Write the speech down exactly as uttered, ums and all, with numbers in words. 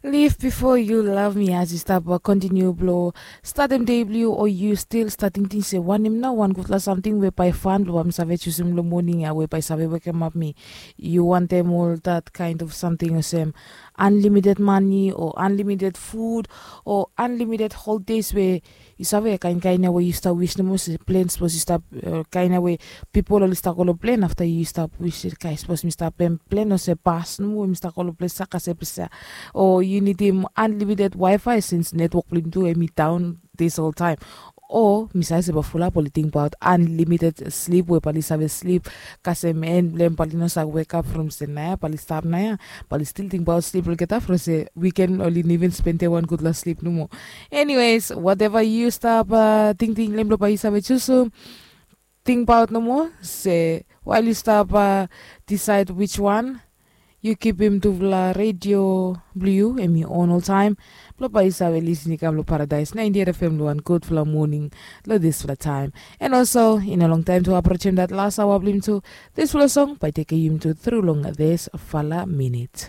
Lif bifo yu lav mi as yu stap kontiniu blong statem dei blong yu o yu stil stat tingting se wanem nao wan gudfala samting we bae fan blong bae mi save jusum long moning ya we bae save wekemap mi? Yu wantem ol dat kaen of samting olsem anlimited mani o anlimited fud o anlimited holdes we yu save kaen kaen ya we yu stap wis nomo se plen sapos yu stap kaen ya we pipol oli stap go long plen afta yu stap wis kae sapos mi stap plen olsem pas nomo we mi stap go long ples ya kasem ples ya o yu nidim anlimited wifi sins netwok blong yumi tu em i daon dis ol taem o mi save se bae fulap oli tingbaot anlimited slip we bae oli save slip kasem en blong em bae oli no save wekap from se naoia bae oli stap naoia bae oli stil tingbaot slip olgeta from se wiken oli no even spendem wan gudfala slip nomo. Eniwes wateva yu stap tingting long em blong bae yu save jusum tingbaot nomo se wael yu stap disaed wiswan yu kipim tufala redio blong yu em i on oltaem blong bae yu save lisin i kam long paradaes naentin eit fm long wan gudfala moning long disfala taem. En olso i no longtaem tu aprojem dat las aoa blong yumi tu disfala song bae tekem yumi tu tru long disfala minit.